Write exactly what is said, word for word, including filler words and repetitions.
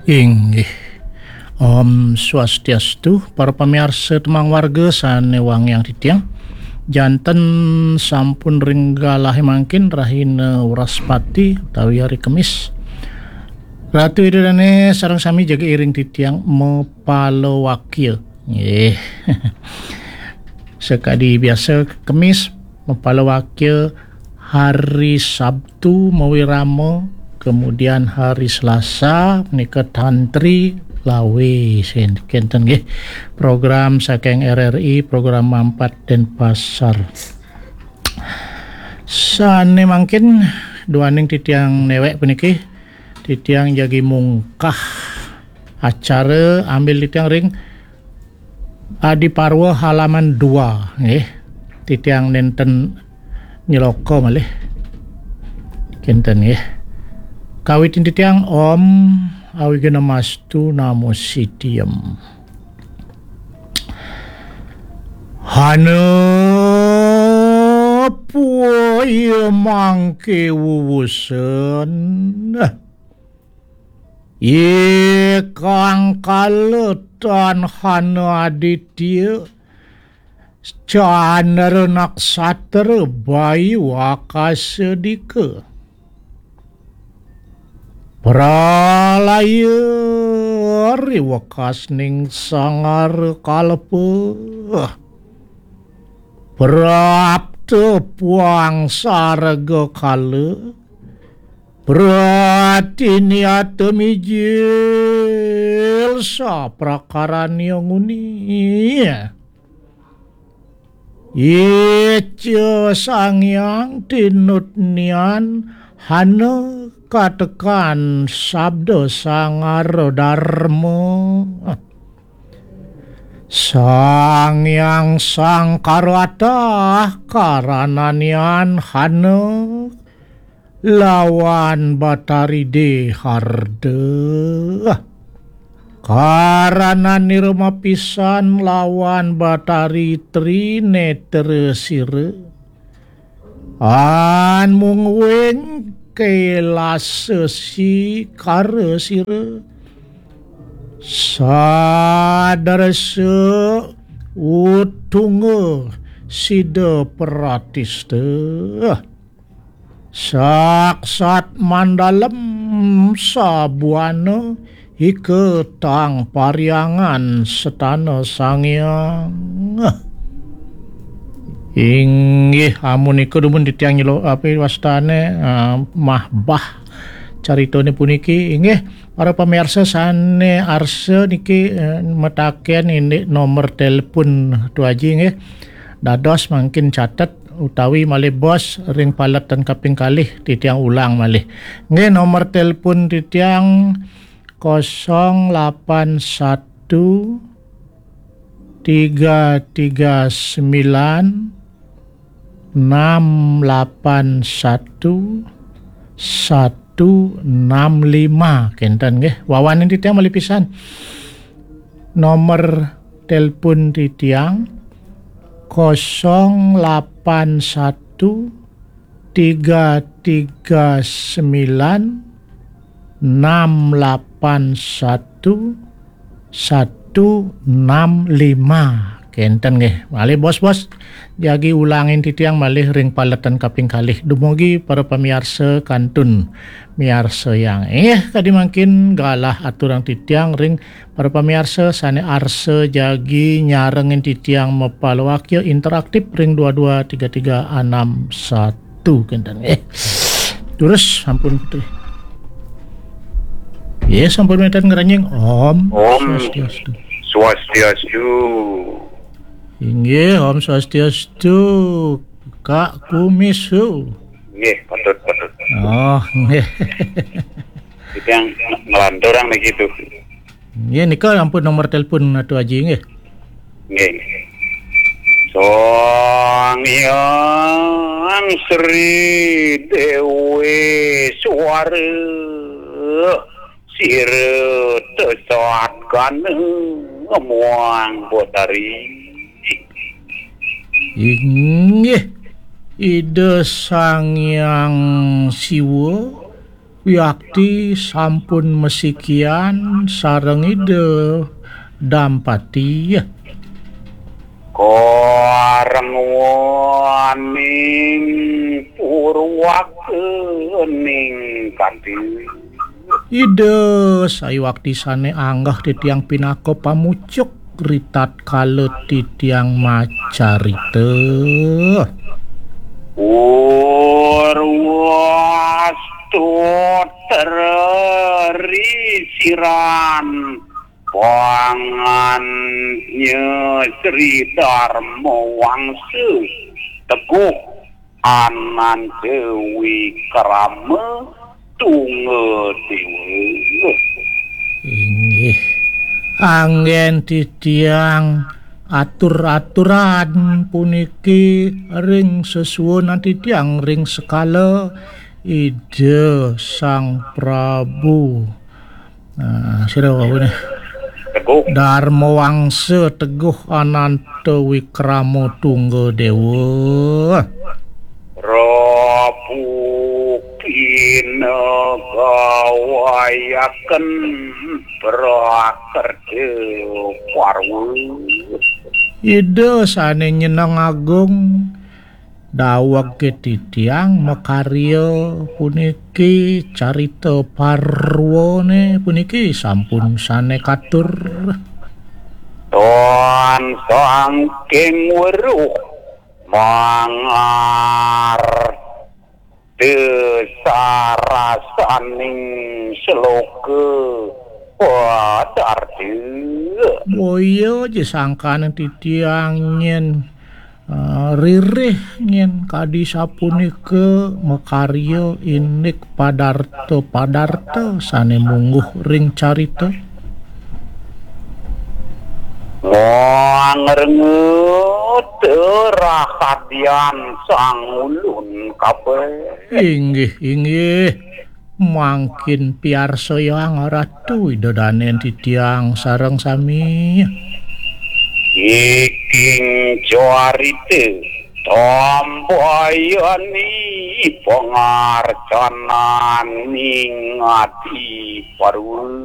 Inggih. Om Swastiastu, para pamiarsa Temang Warga sane wangiang titiang. Janten sampun ring galahe mangkin rahina Wraspati utawi hari Kemis. Ratu Ida Dane sareng sami jaga iring titiang mapalawakya. Nggih. Sakadi biasa Kemis mapalawakya hari Sabtu mawirama, kemudian hari Selasa menika tantri lawe sen-, kenten nggih. Program saking R R I, program Mampat Denpasar. Sane mangkin duaning titiang newek puniki, titiang jagi mungkah acara ambil titiang ring Adi Parwa halaman dua, nggih. Titiang nenten nyeloka malih. Kinten, nggih. Kawitin titiang Om Awighnamastu Namo Sidhiyam. Hana puya mangke wuwusen. Ikang kaletan hana aditya, candra naksatra bayu akasa dika. Pralaya riwekas ning sangara kalpa. Prapta puang sarga kala. Pratiniata mijil saprakaranya nguni. Ica Sang Hyang tinut nian hana katekan sabda sangara darma. Sang Hyang Sangkarawatah karananian hana lawan Batari Deharda. Karananira mapisan lawan Batari Trinetra sira. An mungwing kelasa sikara sira. Sadarsa utunga sida pratista. Saksat mandalem sabuana ika tang pariangan setana Sang Hyang. Inggih, amunika dumun titiang nyelo-, apa wastane, ah, mahbah caritane puniki. Inggih, para pamirsa sane arsa niki, eh, mataken indik nomor telepon Tu Aji, nggih. Dados mangkin catet utawi malih bos ring paletan kaping kalih titiang ulang malih. Nggih, nomor telepon titiang kosong lapan satu tiga tiga sembilan enam lapan satu satu enam lima. Kenten nggih. Wawanin titiang malih pisan. Nomor telepon titiang kosong lapan satu tiga tiga sembilan enam lapan satu satu enam lima. Kenten nggih. Malih bos-bos, jagi ulangin titiang malih ring paletan kaping kalih. Dumugi para pamiarsa kantun miarsayang. Inggih, kadi mangkin galah aturang titiang ring para pamiarsa sane arsa jagi nyarengin titiang mapalawakya interaktif ring dua dua tiga tiga enam satu kenten. Eh, terus sampun putri. Ya, sampun menten ngerenying. Om Om. Swastiastu. Swastiastu. Inggih, Om Swastiastu. Kak Kumisu. Nggih, patut, patut. Oh, nggih. Itu yang ngelanturang begitu. Nggih, nika ampun nomor telepon Atu Aji, nggih. Nggih. Sang Hyang Sri Dewi Suara, sira tesatkana muang Betari. Inggih, Ida Sang Hyang Siwa Wiakti sampun masikian sareng Ida Dampati. Karengwaning purwakaning kadhi. Ida, saiwakti sane anggeh titiang pinaka pamucuk ritatkala titiang macarita. Urwastutra risiran panganya Sri Dharma Wangsa teguh Ananda Wikrama Tungga Dewa. Inggih. Anggen titiang atur-aturan puniki ring sesuunan titiang ring sekala Ida Sang Prabu. Nah, sira wau ne. Teguh. Dharma Wangsa Teguh Ananta Wikrama Tungga Dewa. Rabu pinagawayaken prakerja parwa. Ida sane nyeneng agung, daweg titiang makarya puniki carita parwane puniki sampun sane katur. Ton sangking weruh mangar desarasaning sloka padarta. Boya ja sangkaning titiang nyen, eh, ririh nyen kadi sapunika makarya indik padarta-padarta sane mungguh ring carita. Mangrengut rahadian sang ulun kabeh. Inggih, inggih. Mangkin piarsayang Ratu Ida Danen titiang sareng sami. Iking carita tambayani pangarcananing adi parwa.